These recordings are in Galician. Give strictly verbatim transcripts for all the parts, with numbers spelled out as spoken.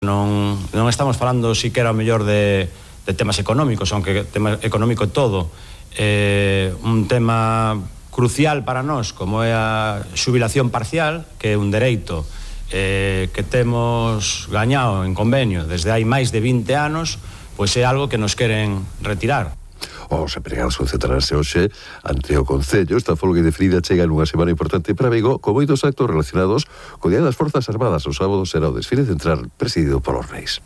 Non, non estamos falando siquera o mellor de, de temas económicos, aunque tema económico todo, eh, un tema crucial para nós, como é a xubilación parcial, que é un dereito eh, que temos gañado en convenio desde hai máis de vinte anos, pois é algo que nos queren retirar. Os empregados concentrarse hoxe ante o Concello. Esta folga indefinida chega nunha semana importante para Vigo, con moitos actos relacionados co Día das Forzas Armadas. O sábado será o desfile central presidido polos Reis.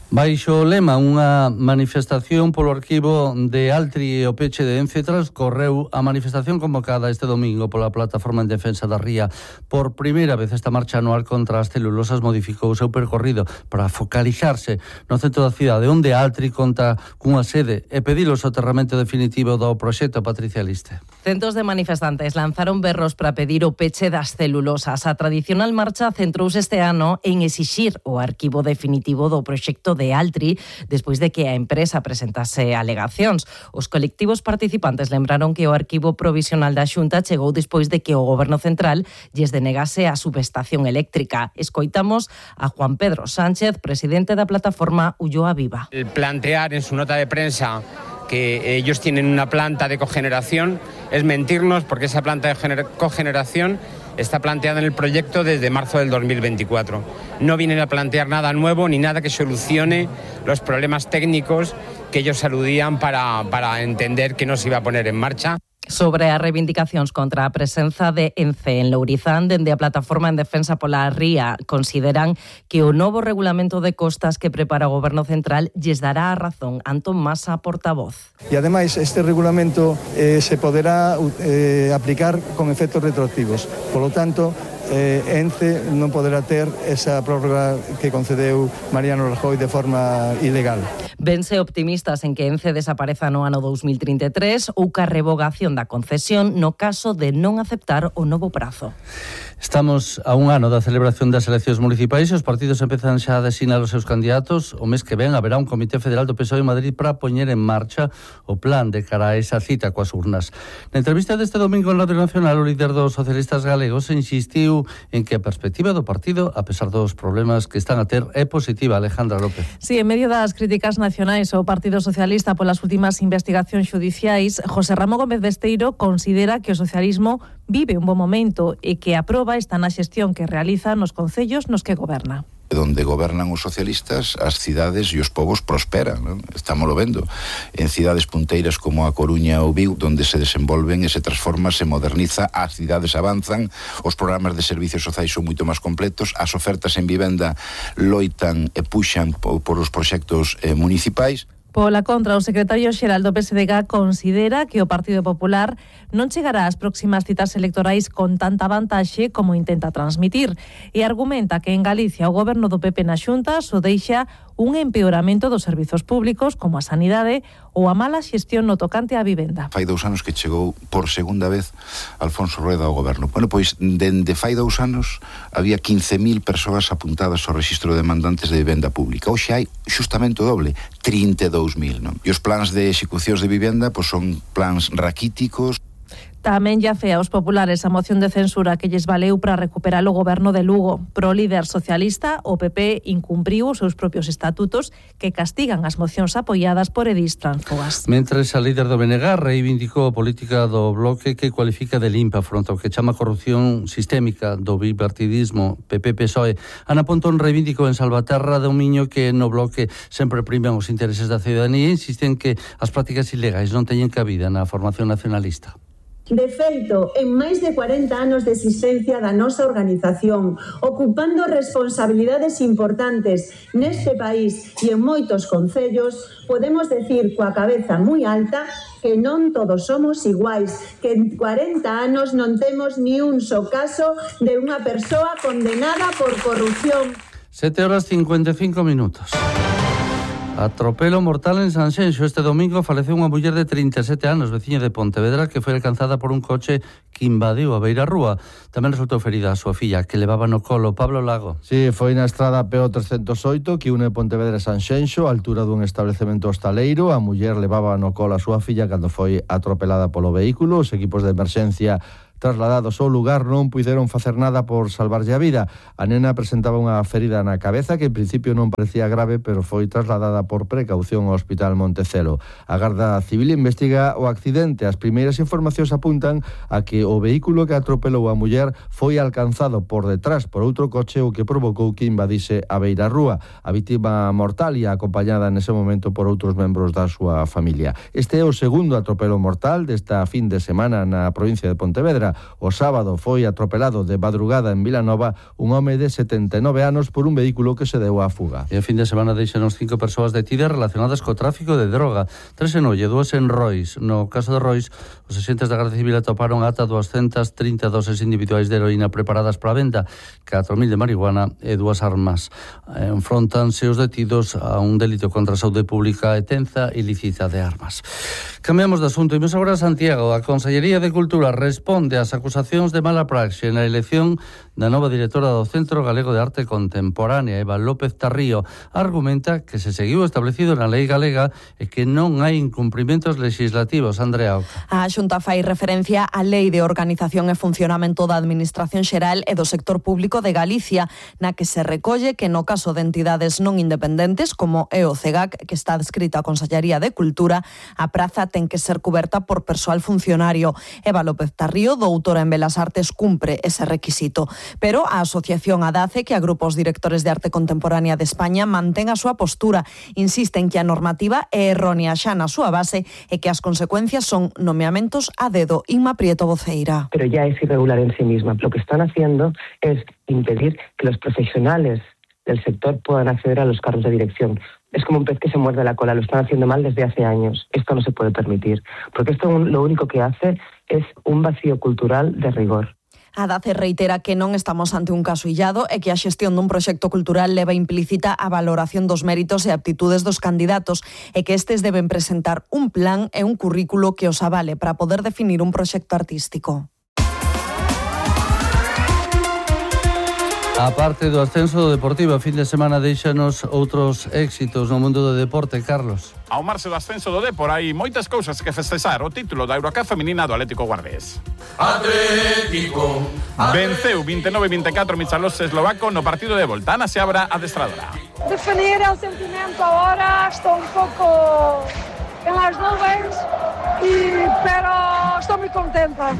Baixo o lema, unha manifestación polo arquivo de Altri e o peche de Ence transcorreu a manifestación convocada este domingo pola Plataforma en Defensa da Ría. Por primeira vez esta marcha anual contra as celulosas modificou o seu percorrido para focalizarse no centro da cidade, onde Altri conta cunha sede e pedir o soterramento definitivo do proxecto. Patricia Liste. Centos de manifestantes lanzaron berros para pedir o peche das celulosas. A tradicional marcha centrouse este ano en exixir o arquivo definitivo do proxecto de Altri despois de que a empresa presentase alegacións. Os colectivos participantes lembraron que o arquivo provisional da Xunta chegou despois de que o Goberno Central lles denegase a subestación eléctrica. Escoitamos a Juan Pedro Sánchez, presidente da plataforma Ulloa Viva. El plantear en su nota de prensa que ellos tienen una planta de cogeneración es mentirnos, porque esa planta de cogeneración está planteada en el proyecto desde marzo del dos mil veinticuatro. No vienen a plantear nada nuevo ni nada que solucione los problemas técnicos que ellos aludían para, para entender que no se iba a poner en marcha. Sobre as reivindicacións contra a presenza de Ence en Lourizán, dende a Plataforma en Defensa pola Ría consideran que o novo regulamento de costas que prepara o Goberno Central lles dará a razón. Antón Masa, portavoz. E ademais este regulamento eh, se poderá eh, aplicar con efectos retroactivos. Por lo tanto, eh, Ence non poderá ter esa prórroga que concedeu Mariano Rajoy de forma ilegal. Vense optimistas en que Ence desapareza no ano dous mil trinta e tres ou ca revogación da concesión no caso de non aceptar o novo prazo. Estamos a un ano da celebración das eleccións municipais e os partidos empezan xa a designar os seus candidatos. O mes que ven haberá un comité federal do P S O E en Madrid para poñer en marcha o plan de cara a esa cita coas urnas. Na entrevista deste domingo en Radio Nacional, o líder dos socialistas galegos insistiu en que a perspectiva do partido, a pesar dos problemas que están a ter, é positiva. Alejandra López. Sí, en medio das críticas nacionais ao Partido Socialista polas últimas investigacións xudiciais, José Ramón Gómez Besteiro considera que o socialismo vive un bom momento e que a proba está na xestión que realiza nos concellos nos que goberna. Donde gobernan os socialistas, as cidades e os povos prosperan, non? Estámoslo vendo en cidades punteiras como a Coruña ou Vigo, donde se desenvolven e se transforma, se moderniza, as cidades avanzan, os programas de servicios sociais son moito máis completos, as ofertas en vivenda loitan e puxan por os proxectos eh, municipais. Pola contra, o secretario xeral do P S D G considera que o Partido Popular non chegará ás próximas citas electorais con tanta vantaxe como intenta transmitir e argumenta que en Galicia o goberno do P P na Xunta só deixa un empeoramento dos servizos públicos como a sanidade ou a mala xestión no tocante á vivenda. Fai dous anos que chegou por segunda vez Alfonso Rueda ao goberno. Bueno, pois, dende fai dous anos había quince mil persoas apuntadas ao rexistro de demandantes de vivenda pública. Hoxe hai xustamente o doble, trinta e dous mil, non? E os plans de execucións de vivenda pois son plans raquíticos. Tamén lle afea aos populares a moción de censura que lles valeu para recuperar o goberno de Lugo. Pro líder socialista, o P P incumpriu os seus propios estatutos que castigan as mocións apoiadas por edís transfogas. Mentres a líder do B N G reivindicou a política do bloque que cualifica de limpa fronte ao que chama corrupción sistémica do bipartidismo P P P S O E. Ana Pontón reivindicou en Salvaterra do Miño que no bloque sempre priman os intereses da ciudadanía e insisten que as prácticas ilegais non teñen cabida na formación nacionalista. De feito, en máis de cuarenta anos de existencia da nosa organización, ocupando responsabilidades importantes neste país e en moitos concellos, podemos decir coa cabeza moi alta que non todos somos iguais, que en cuarenta anos non temos ni un só caso de unha persoa condenada por corrupción. sete horas cincuenta e cinco minutos. Atropelo mortal en Sanxenxo. Este domingo faleceu unha muller de trinta e sete anos, veciña de Pontevedra, que foi alcanzada por un coche que invadiu a beira rúa. Tamén resultou ferida a súa filla, que levaba no colo. Pablo Lago. Sí, foi na estrada P O trescentos oito que une Pontevedra e Sanxenxo, a altura dun establecemento hostaleiro. A muller levaba no colo a súa filla cando foi atropelada polo vehículo. Os equipos de emerxencia trasladados ao lugar non puideron facer nada por salvarlle a vida. A nena presentaba unha ferida na cabeza que en principio non parecía grave, pero foi trasladada por precaución ao Hospital Montecelo. A Garda Civil investiga o accidente. As primeiras informacións apuntan a que o vehículo que atropelou a muller foi alcanzado por detrás por outro coche, o que provocou que invadise a beira rúa. A vítima mortal e acompañada nese momento por outros membros da súa familia. Este é o segundo atropelo mortal desta fin de semana na provincia de Pontevedra. O sábado foi atropelado de madrugada en Vilanova un home de setenta e nove anos por un vehículo que se deu á fuga. E a fin de semana deixanos cinco persoas detidas relacionadas co tráfico de droga. Tres en Olle, dúas en Rois. No caso de Rois, os agentes da Garda Civil atoparon ata doscientas trinta doses individuais de heroína preparadas para a venta, catro mil de marihuana e dúas armas. Enfrontanse os detidos a un delito contra a saúde pública e tenza ilícita de armas. Cambiamos de asunto e imos agora a Santiago. A Consellería de Cultura responde ás acusacións de mala praxe na elección da nova directora do Centro Galego de Arte Contemporánea, Eva López Tarrío. Argumenta que se seguiu establecido na lei galega e que non hai incumprimentos legislativos. Andrea Oca. A Xunta fai referencia á Lei de Organización e Funcionamento da Administración Xeral e do Sector Público de Galicia, na que se recolle que no caso de entidades non independentes, como é o CEGAC, que está adscrita á Consellería de Cultura, a praza ten que ser cuberta por persoal funcionario. Eva López Tarrío, doutora en Belas Artes, cumpre ese requisito. Pero a asociación ADACE, que agrupa os directores de arte contemporánea de España, mantén a súa postura. Insiste en que a normativa é errónea xa na súa base e que as consecuencias son nomeamentos a dedo. Inma Prieto, voceira. Pero ya es irregular en sí misma. Lo que están haciendo es impedir que los profesionales del sector puedan acceder a los cargos de dirección. Es como un pez que se muerde la cola, lo están haciendo mal desde hace años. Esto no se puede permitir, porque esto lo único que hace es un vacío cultural de rigor. A DACE reitera que non estamos ante un caso illado e que a xestión dun proxecto cultural leva implícita a valoración dos méritos e aptitudes dos candidatos e que estes deben presentar un plan e un currículo que os avale para poder definir un proxecto artístico. A parte do ascenso do Deportivo, a fin de semana deixanos outros éxitos no mundo do deporte, Carlos. Ao marxe do ascenso do Depor hai moitas cousas que festexar. O título da Eurocup feminina do Atlético Guardés. Atlético. Venceu vinte e nove a vinte e catro Michalos eslovaco no partido de volta. Ana Seabra, adestradora. Definir el sentimento ahora, estou un pouco en las nubes, y, pero estou moi contenta.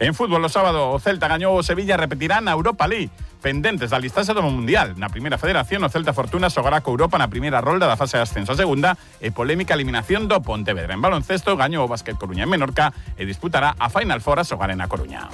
En fútbol, o sábado, o Celta gañou o Sevilla e repetirá na Europa League. Pendentes da listaxe do Mundial. Na primeira federación, o Celta Fortuna xogará co Europa na primeira rolda da fase de ascenso. A segunda e polémica eliminación do Pontevedra. En baloncesto, gañou o Básquet Coruña en Menorca e disputará a Final Four a xogar en A Coruña.